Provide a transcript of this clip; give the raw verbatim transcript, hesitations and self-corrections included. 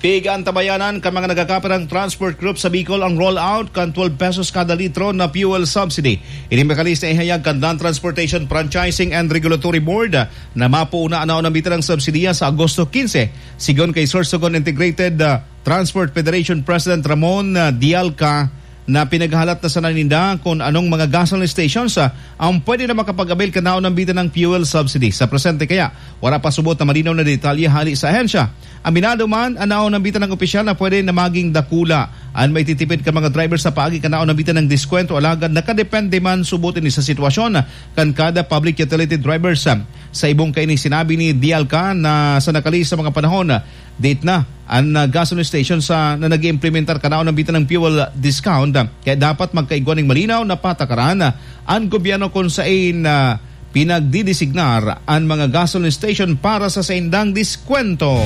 Pigantabayanan kan mga nagkakaperang transport group sa Bicol ang rollout kan twelve pesos kada litro na fuel subsidy. Ini mekanismo ihayag kan Land Transportation Franchising and Regulatory Board na mapuuna an naunang bitang subsidiya sa Agosto quince. Sigon kay Sorsogon Integrated, ah, Transport Federation President Ramon, ah, Dialca, na pinaghahalat na sana ninda kung anong mga gasoline stations, ah, ang pwede na makapag-avail kan naunang bitang fuel subsidy. Sa presente kaya, wala pa subot na malinaw na detalye hali sa ahensya. Aminado man, an naunang bitang opisyal na pwede na maging dakula an maititipid kan mga driver sa paagi kan naunang bitang diskwento, alagad nakadepende man subot ini sa sitwasyon kan kada public utility drivers. Sa ibong kaini, sinabi ni Dialca na sa nakalihis na mga panahon, date na an, ah, gasoline station sa, na nag-iimplementar kan naunang bitang fuel discount, ah, kaya dapat magkaigwa nin malinaw na patakaran, ah, an gobyerno kung sain, ah, pinagdidesignar an mga gasoline station para sa saindang diskwento.